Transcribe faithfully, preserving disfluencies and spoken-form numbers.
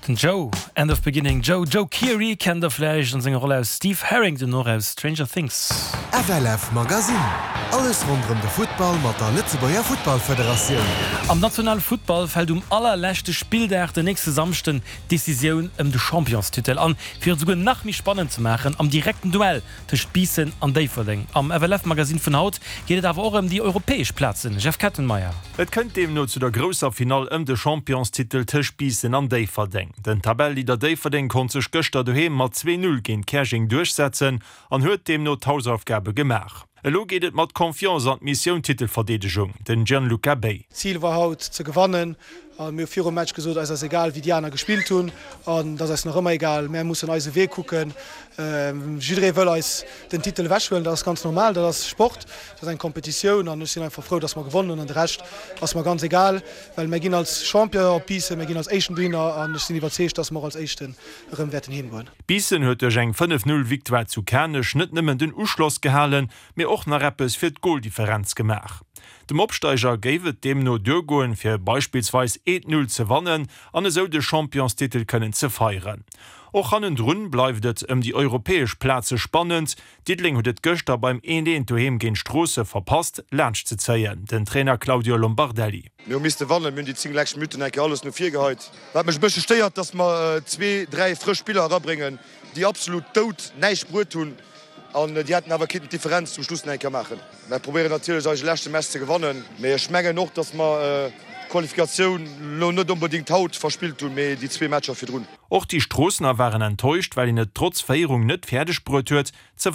Den Joe End of Beginning Joe Joe Keery kennt der vläicht an senger Roll als Steve Harrington och aus Stranger Things. F L F Magazine. Alles ronderëm de Futtball mat der Lëtzebuerger Futtballfederatioun. Am nationale Futtball fält um allerleschte Spilldag den nächste Samschden d'Decisioun ëm de Championstitel an fir et souguer nach méi spannend ze maachen am direkten Duell tëscht Biissen an Déifferdeng. Am F L F Magazine vun haut geet et awer och ëm déi europäesch Plazen. Jeff Kettenmeyer. Et kënnt deemno zu der grousser Finall ëm de Championstitel tëscht Biissen an Déifferdeng. Den Tabelleleader Déifferdeng konnt sech gëschter doheem mat zwee Null géint Käerjeng duerchsetzen an huet deemno d'Hausaufgabe gemaach. Elo geet et mat Confiance an d'Missioun Titelverdeedegung, den Gianluca Bay. Zil war haut ze gewannen. Mir hu virum Match gesot, eis ass egal wéi déi aner gespillt hunn an dat ass nach ëmmer egal. Mir mussen eise Wee kucken. Jidderee wëll eis den Titel ewechhuelen, dat ass ganz normal, dat ass Sport, dat ass eng Kompetitioun an ech sinn einfach frou, dass mer gewonnen hunn an de Rescht ass mer ganz egal, well mir ginn als Champion op Biissen, mir ginn als Éischten dohinner an ech sinn iwwerzeegt, dass mer och als Éischten erëm wäerten heemgoen. Biissen huet duerch eng fënnef Null Victoire zu Kanech net nëmmen den Uschloss gehalen, mee och nach eppes fir d'Goldifferenz gemaach. Dem Opsteiger géif et deemno duergoen, fir beispillsweis eent Null ze wannen an esou de Championstitel kënnen ze feieren. Och hannendrun bleift et ëm déi europäesch Plaze spannend. Diddeleng huet et gëschter beim eent eent doheem géint Stroossen verpasst, laanscht ze zéien. Den Trainer Claudio Lombardelli. Mir hu misste wannen, mir hunn déi zéng lescht Minutten eng Kéier alles no vir geheit. Wat mech e bëssche stéiert, dass mer zwee, dräi frësch Spiller erabréngen, déi absolut dout näischt bruet hunn an déi hätten awer kinnten d'Differenz zum Schluss nach eng Kéier maachen. Mir probéieren natierlech eise leschte Match ze gewannen, mee ech mengen och, dass mer d'Qualifikatioun lo net onbedéngt haut verspillt hunn, mee déi zwee Matcher virdrun. Och déi Stroossener waren enttäuscht, well een et trotz Féierung net fäerdeg bruet huet, ze